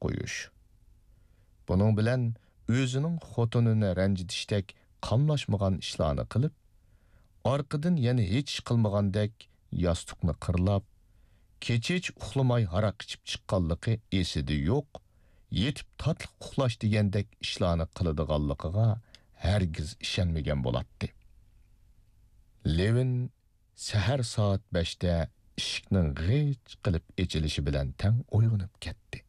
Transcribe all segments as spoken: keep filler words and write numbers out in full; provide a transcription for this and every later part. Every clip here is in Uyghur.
قويۇش. بۇنىڭ بىلەن ئۆزىنىڭ خوتۇنىنى رەنجىتىشتەك قاملاشمىغان ئىشلارنى قىلىپ، ئارقىدىن يەنە ھېچ ئىش قىلمىغاندەك ياستۇقنى قىرلاپ، كېچىچە ئۇخلىماي ھاراق ئىچىپ چىققانلىقى ئېسىدە يوق، يېتىپ تاتلىق ئۇخلاش دېگەندەك ئىشلارنى قىلىدىغانلىقىغا ھەرگىز ئىشەنمىگەن بولاتتى. لېۋىن سەھەر سائەت بەشتە ئىشىكنىڭ غىچ قىلىپ ئېچىلىشى بىلەن تەڭ ئويغىنىپ كەتتى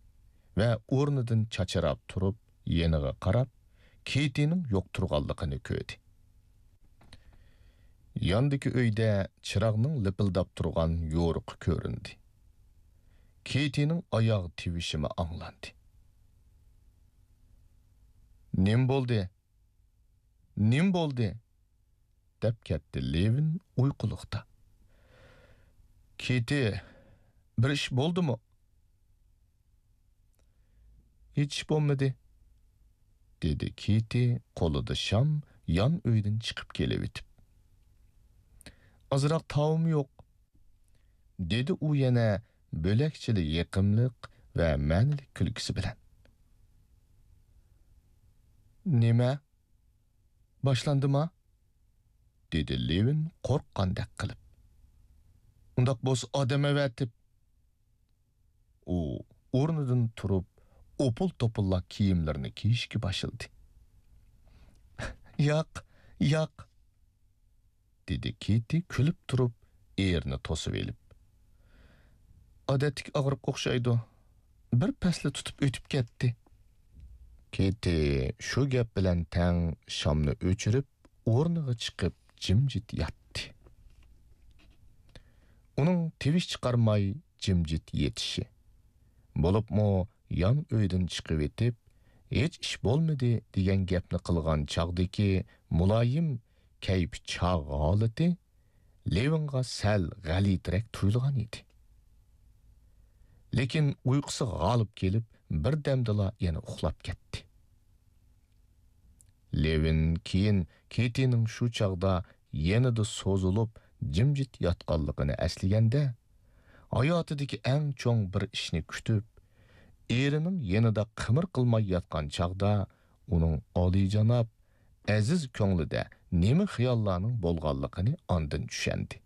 ۋە ئورنىدىن چاچراپ تۇرۇپ، يېنىغا قاراپ، كېتىنىڭ يوق تۇرغانلىقىنى كۆردى. ياندىكى ئۆيدە چىراغنىڭ لىپىلداپ تۇرغان يورۇقى كۆرۈندى. كېتىنىڭ ئاياغ تىۋىشىمۇ ئاڭلاندى. «نېمە بولدى؟ نېمە بولدى؟» دەپ كەتتى لېۋىن ئۇيقۇلۇقتا. «كېتى، بىر ئىش بولدىمۇ؟» «ھېچ ئىش بولمىدى،» دېدى كېتى قولىدا شام يان ئۆيدىن چىقىپ كېلىۋېتىپ. «ئازراق تاۋۇم يوق،» دېدى ئۇ يەنە بۆلەكچىلا يېقىملىق ۋە مەنىلىك كۈلكىسى بىلەن. «نېمە؟ باشلاندىما؟» دېدى لېۋىن قورققاندەك قىلىپ. «ئۇنداق بولسا ئادەم ئەۋەتىپ.» ئۇ ئورنىدىن تۇرۇپ، ئوپۇل-توپۇللا كىيىملىرىنى كىيىشكە باشلىدى. «ياق، ياق،» دېدى كېتى كۈلۈپ تۇرۇپ، ئېرىنى توسۇۋېلىپ. «ئادەتتىكى ئاغرىققا ئوخشايدۇ. بىر پەسلا تۇتۇپ ئۆتۈپ كەتتى.» كېتى شۇ گەپ بىلەن تەڭ شامنى ئۆچۈرۈپ، ئورنىغا چىقىپ جىمجىت ياتتى. ئۇنىڭ تىۋىش چىقارماي جىمجىت يېتىشى، بولۇپمۇ يان ئۆيدىن چىقىۋېتىپ، ھېچ ئىش بولمىدى دېگەن گەپنى قىلغان چاغدىكى مۇلايىم كەيپى چاغ ھالىتى لېۋىنغا سەل غەلىتىرەك تۇيۇلغان ئىدى. لېكىن ئۇيقۇسى غالىب كېلىپ، بىردەمدىلا يەنە ئۇخلاپ كەتتى. لېۋىن كېيىن كېتىنىڭ شۇ چاغدا يېنىدا سوزۇلۇپ جىمجىت ياتقانلىقىنى ئەسلىگەندە، ھاياتىدىكى ئەڭ چوڭ بىر ئىشنى كۈتۈپ، ئېرىنىڭ يېنىدا قىمىر قىلماي ياتقان چاغدا ئۇنىڭ ئالىيجاناب، ئەزىز كۆڭلىدە نېمە خىياللارنىڭ بولغانلىقىنى ئاندىن چۈشەندى.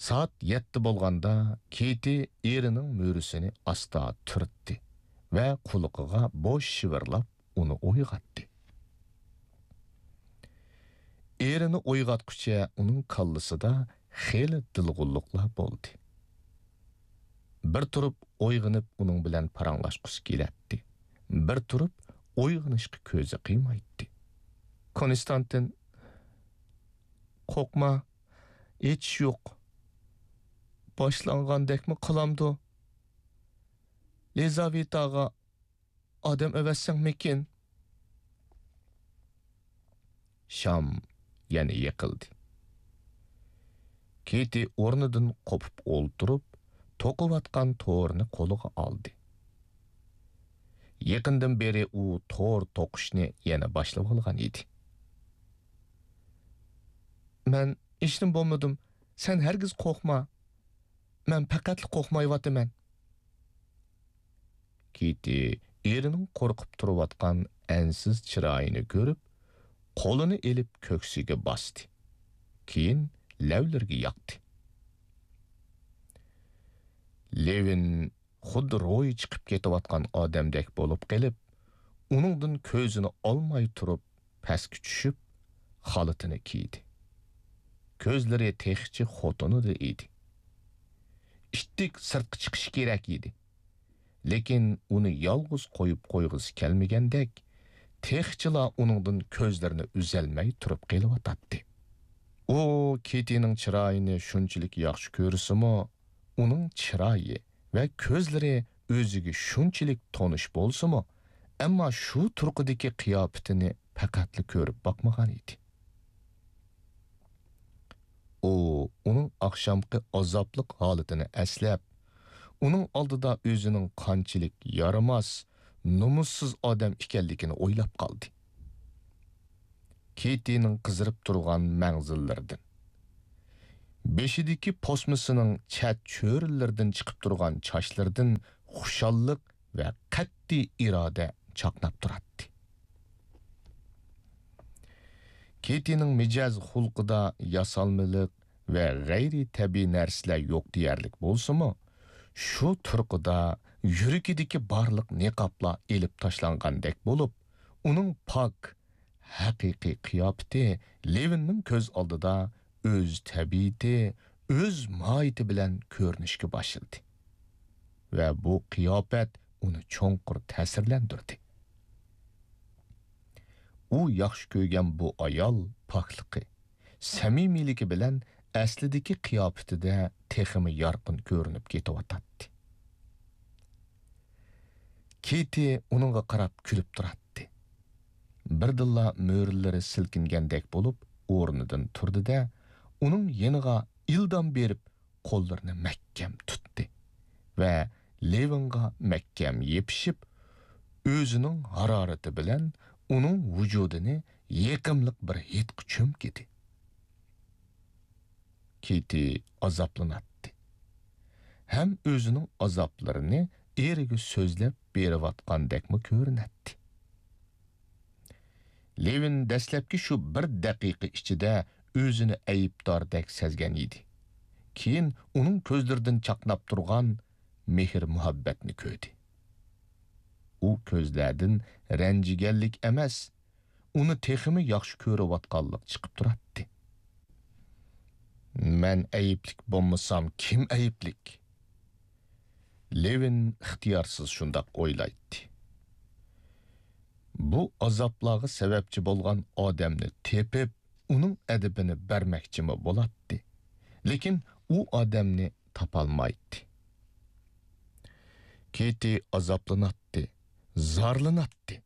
سائەت يەتتە بولغاندا كېتى ئېرىنىڭ مۈرىسىنى ئاستا تۈرتتى ۋە قۇلىقىغا بوش شىۋىرلاپ ئۇنى ئويغاتتى. ئېرىنى ئويغاتقۇچە ئۇنىڭ كاللىسىدا خېلى دىلغۇنلۇقلار بولدى. بىر تۇرۇپ ئويغىنىپ ئۇنىڭ بىلەن پاراڭلاشقۇسى كېلەتتى. بىر تۇرۇپ ئويغىنىشقا كۆزى قىيمايتتى. كونستانتىن، قورقما، ھېچ ئىش يوق. باشلانغاندەكمۇ قىلامدۇ؟ لىزاۋېتاغا ئادەم ئەۋەتسەڭمىكىن؟ شام يەنە يېقىلدى. كېتى ئورنىدىن قوپۇپ ئولتۇرۇپ، توقۇۋاتقان تورىنى قولىغا ئالدى. يېقىندىن بېرى ئۇ تور توقۇشنى يەنە باشلىۋالغان ئىدى. مەن ھېچنېمە بولمىدىم. سەن ھەرگىز قورقما. مەن پەقەتلا قورقمايۋاتىمەن. كېتى ئېرىنىڭ قورقۇپ تۇرۇۋاتقان ئەنسىز چىرايىنى كۆرۈپ، قولىنى ئېلىپ كۆكسىگە باستى. كېيىن لەۋلىرىگە ياقتى. لېۋىن خۇددى روھى چىقىپ كېتىۋاتقان ئادەمدەك بولۇپ قېلىپ، ئۇنىڭدىن كۆزىنى ئالماي تۇرۇپ، پەسكە چۈشۈپ، خالىتىنى كىيدى. كۆزلىرى تېخىچە خوتۇنىدا ئىدى. ئىتتىك سىرتقا چىقىشى كېرەك ئىدى. لېكىن ئۇنى يالغۇز قويۇپ قويغۇسى كەلمىگەندەك، تېخىچىلا ئۇنىڭدىن كۆزلىرىنى ئۈزەلمەي تۇرۇپ قېلىۋاتاتتى. ئۇ كېتىنىڭ چىرايىنى شۇنچىلىك ياخشى كۆرسىمۇ، ئۇنىڭ چىرايى ۋە كۆزلىرى ئۆزىگە شۇنچىلىك تونۇش بولسىمۇ، ئەمما شۇ تۇرقىدىكى قىياپىتىنى پەقەتلا كۆرۈپ باقمىغان ئىدى. ئۇ ئۇنىڭ ئاخشامقى ئازابلىق ھالىتىنى ئەسلەپ، ئۇنىڭ ئالدىدا ئۆزىنىڭ قانچىلىك يارىماس، نومۇسسىز ئادەم ئىكەنلىكىنى ئويلاپ قالدى. كېتىنىڭ قىزىرىپ تۇرغان مەڭزىلىرىدىن، بېشىدىكى پوسمىسىنىڭ چەت چۆرىلىرىدىن چىقىپ تۇرغان چاچلىرىدىن خۇشاللىق ۋە قەتئىي ئىرادە چاقناپ تۇراتتى. كېتىنىڭ مىجەز خۇلقىدا ياسالمىلىق ۋە غەيرىي تەبىئىي نەرسىلەر يوق دېيەرلىك بولسىمۇ، شۇ تۇرقىدا يۈرىكىدىكى بارلىق نىقابلار ئېلىپ تاشلانغاندەك بولۇپ، ئۇنىڭ پاك، ھەقىقىي قىياپىتى لېۋىننىڭ كۆز ئالدىدا ئۆز تەبىئىتى، ئۆز ماھىيىتى بىلەن كۆرۈنۈشكە باشلىدى. ۋە بۇ قىياپەت ئۇنى چوڭقۇر تەسىرلەندۈردى. ئۇ ياخشى كۆرگەن بۇ ئايال پاكلىقى، سەمىمىيلىكى بىلەن ئەسلىدىكى قىياپىتىدە تېخىمۇ يارقىن كۆرۈنۈپ كېتىۋاتاتتى. كېتى ئۇنىڭغا قاراپ كۈلۈپ تۇراتتى. بىردىنلا مۈرىلىرى سىلكىنگەندەك بولۇپ ئورنىدىن تۇردى-دە، ئۇنىڭ يېنىغا ئىلدام بېرىپ قوللىرىنى مەھكەم تۇتتى ۋە لېۋىنغا مەھكەم يېپىشىپ، ئۆزىنىڭ ھارارىتى بىلەن ئۇنىڭ ۋۇجۇدىنى يېقىملىق بىر ھىدقا چۆمكىدى. كېتى ئازابلىناتتى ھەم ئۆزىنىڭ ئازابلىرىنى ئېرىگە سۆزلەپ بېرىۋاتقاندەكمۇ كۆرۈنەتتى. لېۋىن دەسلەپكى شۇ بىر دەقىقە ئىچىدە ئۆزىنى ئەيىبداردەك سەزگەن ئىدى. كېيىن ئۇنىڭ كۆزلىرىدىن چاقناپ تۇرغان مېھىر-مۇھەببەتنى كۆردى. ئۇ كۆزلەردىن رەنجىگەنلىك ئەمەس، ئۇنى تېخىمۇ ياخشى كۆرۈۋاتقانلىق چىقىپ تۇراتتى. مەن ئەيىبلىك بولمىسام، كىم ئەيىبلىك؟ لېۋىن ئىختىيارسىز شۇنداق ئويلايتتى. بۇ ئازابلارغا سەۋەبچى بولغان ئادەمنى تېپىپ، ئۇنىڭ ئەدىپىنى بەرمەكچىمۇ بولاتتى. لېكىن ئۇ ئادەمنى تاپالمايتتى. كېتى ئازابلىناتتى، زارلىناتتى.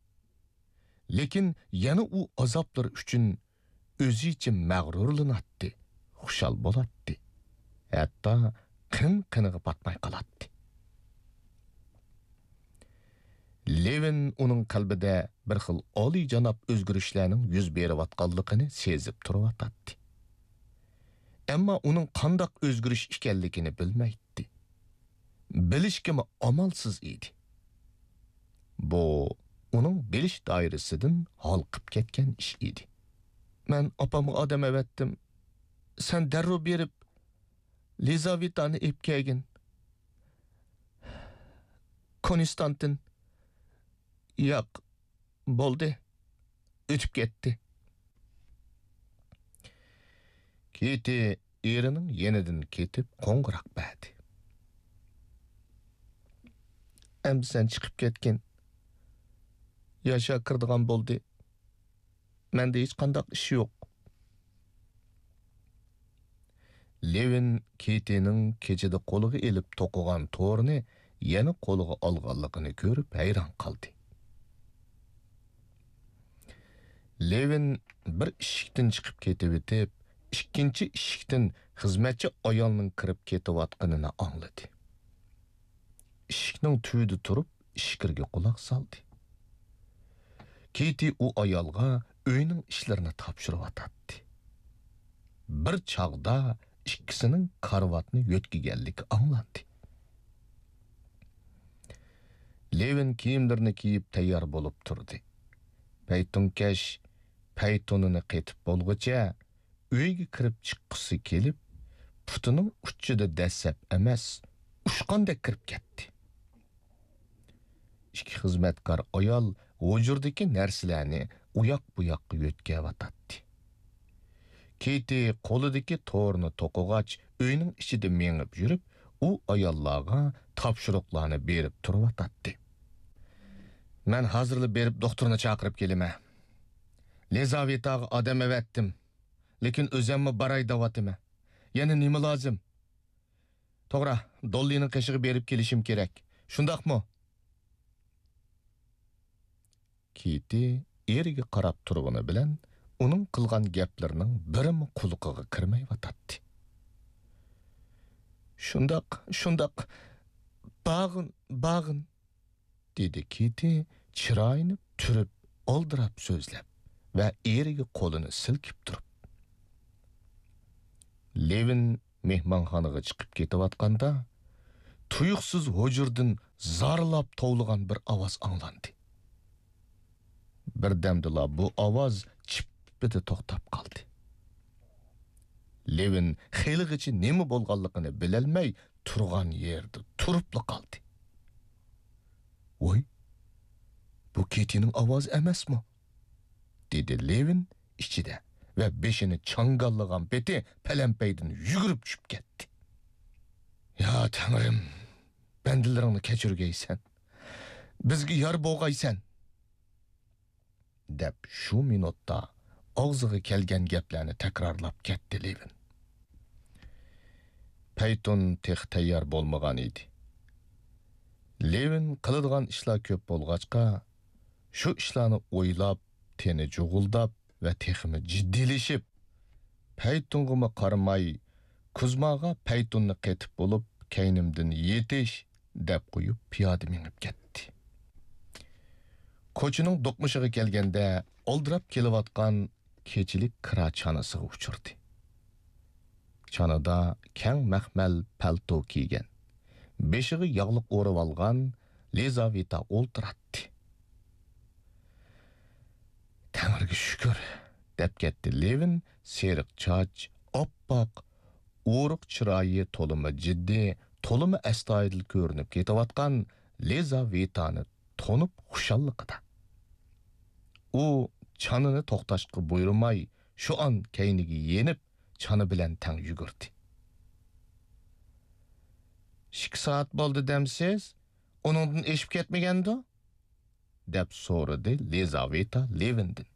لېكىن يەنە ئۇ ئازابلىرى ئۈچۈن ئۆزىچە مەغرۇرلىناتتى، خۇشال بولاتتى. ھەتتا قىن-قىنىغا پاتماي قالاتتى. لېۋىن ئۇنىڭ قەلبىدە بىر خىل ئالىيجاناب ئۆزگىرىشلەرنىڭ يۈز بېرىۋاتقانلىقىنى سېزىپ تۇرۇۋاتاتتى. ئەمما ئۇنىڭ قانداق ئۆزگىرىش ئىكەنلىكىنى بىلمەيتتى. بىلىشكىمۇ ئامالسىز ئىدى. بۇ ئۇنىڭ بىلىش دائىرىسىدىن ھالقىپ كەتكەن ئىش ئىدى. مەن ئاپامغا ئادەم ئەۋەتتىم. سەن دەررۇ بېرىپ، لىزاۋېتانى ئېلىپ كەلگىن. كونستانتىن. ياق، بولدى. ئۆتۈپ كەتتى. كېتى ئېرىنىڭ يېنىدىن كېتىپ قوڭغۇراق بەردى. ئەمدى سەن چىقىپ كەتكىن. ياشا كىرىدىغان بولدى. مەندە ھېچقانداق ئىش يوق. لېۋىن كېتىنىڭ كېچىدە قولىغا ئېلىپ توقۇغان تورىنى يەنە قولىغا ئالغانلىقىنى كۆرۈپ ھەيران قالدى. لېۋىن بىر ئىشىكتىن چىقىپ كېتىۋېتىپ، ئىككىنچى ئىشىكتىن خىزمەتچى ئايالنىڭ كىرىپ كېتىۋاتقىنىنى ئاڭلىدى. ئىشىكنىڭ تۈۋىدە تۇرۇپ، ئىچكىرىگە قۇلاق سالدى. كېتى ئۇ ئايالغا ئۆينىڭ ئىشلىرىنى تاپشۇرۇۋاتاتتى. بىر چاغدا ئىككىسىنىڭ كارىۋاتنى يۆتكىگەنلىكى ئاڭلاندى. لېۋىن كىيىملىرىنى كىيىپ تەييار بولۇپ تۇردى. پەيتۇنكەش پەيتۇنىنى قېتىپ بولغۇچە، ئۆيگە كىرىپ چىققۇسى كېلىپ، پۇتىنىڭ ئۇچىدا دەسسەپ ئەمەس، ئۇچقاندەك كىرىپ كەتتى. ئىككى خىزمەتكار ئايال ھۇجرىدىكى نەرسىلەرنى ئۇياق-بۇياققا يۆتكەۋاتاتتى. كېتى قولىدىكى تورنى توقۇغاچ، ئۆينىڭ ئىچىدە مېڭىپ يۈرۈپ، ئۇ ئاياللارغا تاپشۇرۇقلارنى بېرىپ تۇرۇۋاتاتتى. مەن ھازىرلا بېرىپ دوختۇرنى چاقىرىپ كېلىمەن. لىزاۋېتاغا ئادەم ئەۋەتتىم. لېكىن ئۆزەممۇ باراي دەۋاتىمەن. يەنە نېمە لازىم؟ توغرا، دوللىنىڭ قېشىغا بېرىپ كېلىشىم كېرەك. شۇنداقمۇ؟ كېتى ئېرىگە قاراپ تۇرغىنى بىلەن ئۇنىڭ قىلغان گەپلىرىنىڭ بىرىمۇ قۇلىقىغا كىرمەيۋاتاتتى. شۇنداق، شۇنداق. باغىن، باغىن. دېدى كېتى چىرايىنى تۈرۈپ، ئالدىراپ سۆزلەپ ۋە ئېرىگە قولىنى سىلكىپ تۇرۇپ. لېۋىن مېھمانخانىغا چىقىپ كېتىۋاتقاندا، تۇيۇقسىز ھۇجرىدىن زارلاپ توۋلىغان بىر ئاۋاز ئاڭلاندى. بىردەمدىلا بۇ ئاۋاز چىپپىدە توختاپ قالدى. لېۋىن خېلىغىچە نېمە بولغانلىقىنى بىلەلمەي تۇرغان يېرىدە تۇرۇپلا قالدى. «ۋاي، بۇ كېتىنىڭ ئاۋازى ئەمەسمۇ؟» دېدى لېۋىن ئىچىدە ۋە بېشىنى چاڭگاللىغان پېتى پەلەمپەيدىن يۈگۈرۈپ چۈشۈپ كەتتى. «يا تەڭرىم، بەندىلىرىڭنى كەچۈرگەيسەن، بىزگە يار بولغايسەن!» دەپ، شۇ مىنۇتتا ئاغزىغا كەلگەن گەپلەرنى تەكرارلاپ كەتتى لېۋىن. پەيتۇن تېخى تەييار بولمىغان ئىدى. لېۋىن قىلىدىغان ئىشلار كۆپ بولغاچقا، شۇ ئىشلارنى ئويلاپ، تېنى جۇغۇلداپ ۋە تېخىمۇ جىددىيلىشىپ، پەيتۇنغىمۇ قارىماي، كۇزماغا پەيتۇننى قېتىپ بولۇپ، كەينىمدىن يېتىش دەپ قويۇپ، پىيادە مېڭىپ كەتتى. كوچىنىڭ دوقمۇشىغا كەلگەندە، ئالدىراپ كېلىۋاتقان كېچىلىك كىرا چانىسىغا ئۇچرىدى. چانىدا كەڭ مەخمەل پەلتو كىيگەن، بېشىغا ياغلىق ئورىۋالغان لىزاۋېتا ئولتۇراتتى. «تەڭرىگە شۈكۈر!» دەپ كەتتى لېۋىن سېرىق چاچ، ئاپئاق، ئورۇق چىرايى تولىمۇ جىددىي، تولىمۇ ئەستايىدىل كۆرۈنۈپ كېتىۋاتقان لىزاۋېتانى تونۇپ خۇشاللىقىدا. ئۇ چانىنى توختاشقا بۇيرۇماي، شۇئان كەينىگە يېنىپ، چانا بىلەن تەڭ يۈگۈردى. «ئىككى سائەت بولدى دەمسىز؟ ئۇنىڭدىن ئېشىپ كەتمىگەندۇ؟» دەپ سورىدى لىزاۋېتا لېۋىندىن.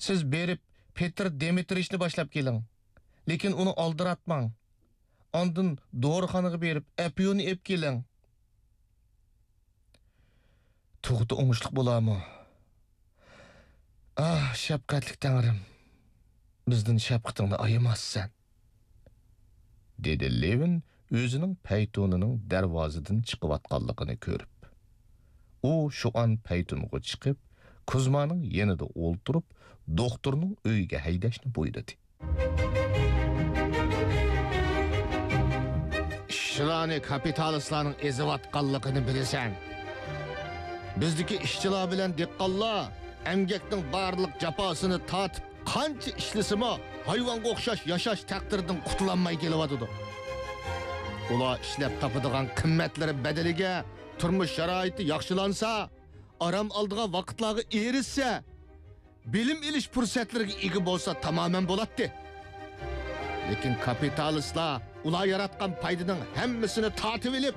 «سىز بېرىپ، پېتىر دىمىترىچنى باشلاپ كېلىڭ. لېكىن ئۇنى ئالدىراتماڭ. ئاندىن دورىخانىغا بېرىپ، ئەپيۈننى ئېلىپ كېلىڭ.» «تۇغۇتى ئوڭۇشلۇق بولارمۇ؟ ئاھ، شەپقەتلىك تەڭرىم، بىزدىن شەپقىتىڭنى ئايىماسسەن!» دېدى لېۋىن ئۆزىنىڭ پەيتۇنىنىڭ دەرۋازىدىن چىقىۋاتقانلىقىنى كۆرۈپ. ئۇ شۇئان پەيتۇنغا چىقىپ، كۇزمانىڭ يېنىدا ئولتۇرۇپ، دوختۇرنىڭ ئۆيىگە ھەيدەشنى بۇيرۇدى. «ئىشچىلارنى كاپىتالىستلارنىڭ ئېزىۋاتقانلىقىنى بىلىسەن. بىزدىكى ئىشچىلار بىلەن دېھقانلار ئەمگەكنىڭ بارلىق جاپاسىنى تارتىپ، قانچە ئىشلىسىمۇ، ھايۋانغا ئوخشاش ياشاش تەقدىرىدىن قۇتۇلالماي كېلىۋاتىدۇ. ئۇلار ئىشلەپ تاپىدىغان قىممەتلىرى بەدىلىگە تۇرمۇش شارائىتى ياخشىلانسا، ئارام ئالىدىغان ۋاقىتلارغا ئېرىشسە، بىلىم ئېلىش پۇرسەتلىرىگە ئىگە بولسا تامامەن بولاتتى. لېكىن كاپىتالىستلار ئۇلار ياراتقان پايدىنىڭ ھەممىسىنى تارتىۋېلىپ،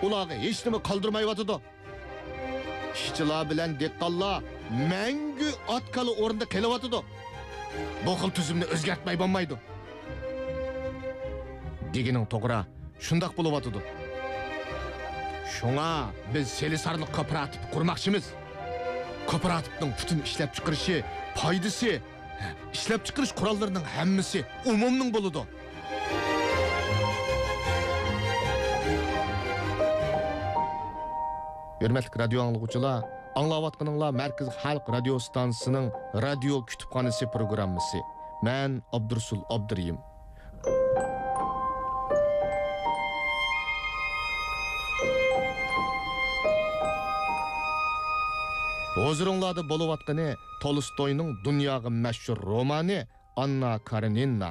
ئۇلارغا ھېچنېمە قالدۇرمايۋاتىدۇ. ئىشچىلار بىلەن دېھقانلار مەڭگۈ ئات-كالا ئورنىدا قېلىۋاتىدۇ. بۇ خىل تۈزۈمنى ئۆزگەرتمەي بولمايدۇ.» «دېگىنىڭ توغرا، شۇنداق بولۇۋاتىدۇ. شۇڭا بىز سېلىسارلىق كوپىراتىپى قۇرماقچىمىز. كوپىراتىپنىڭ پۈتۈن ئىشلەپچىقىرىشى، پايدىسى، ئىشلەپچىقىرىش قوراللىرىنىڭ ھەممىسى ئومۇمنىڭ بولىدۇ.» ھۆرمەتلىك رادىيو ئاڭلىغۇچىلار، ئاڭلاۋاتقىنىڭلار مەركىزىي خەلق رادىيو ستانسىسىنىڭ رادىيو كۇتۇپخانىسى پروگراممىسى. مەن ئابدۇرۇسۇل ئابدۇرېھىم. ھۇزۇرۇڭلاردا بولۇۋاتقىنى تولستوينىڭ دۇنياغا مەشھۇر رومانى ئاننا كارېنىنا.